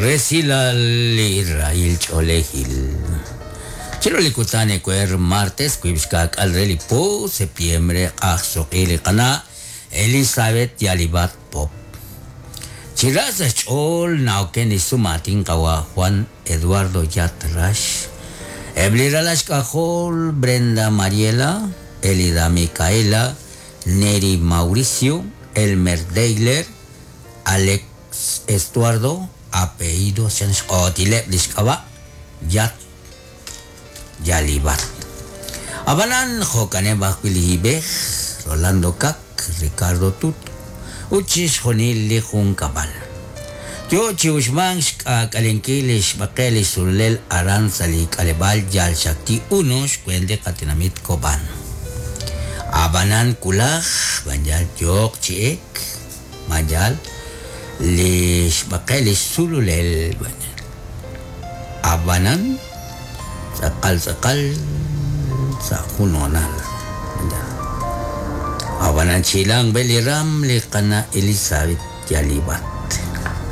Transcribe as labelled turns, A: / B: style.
A: Resilal li rahil ch'oolejil. Chiru li kutan ewer martes wiib' xka'k'aal re li po septiembre q'ajsuq'i li qana' Elizabeth Yalibat Pop. Chi ra sa' xch'ool na'oken li sumaatin qawa' Juan Eduardo Yat Rax, eb' li ralal xk'ajol Brenda Mariela, Elida Micaela, Neri Mauricio, Elmer Deiler, Alex Estuardo, apellido chan xq'ootileb' li xk'ab'a' Yat Yalibat. Ab'anan jo'kaneb' ajwi' li hib'ej, Rolando Kak, Ricardo Tut, ut chixjunil li junkab'al. Yo chi uxmank xk'aak'alenkil li xb'aqe' li xsululel aran sa' li k'aleb'aal Yalxakti Uno xweent li qatenamit Kob'an. Ab'anan wulaj b'an yal yooq chi ek, b'an yal li xb'aqe' li xsululel Ab'anan tz'aqal tz'aqal sa' jun hoonal. Ab'anan chihilanq b'e li raam li qana' Elizabeth Yalibat.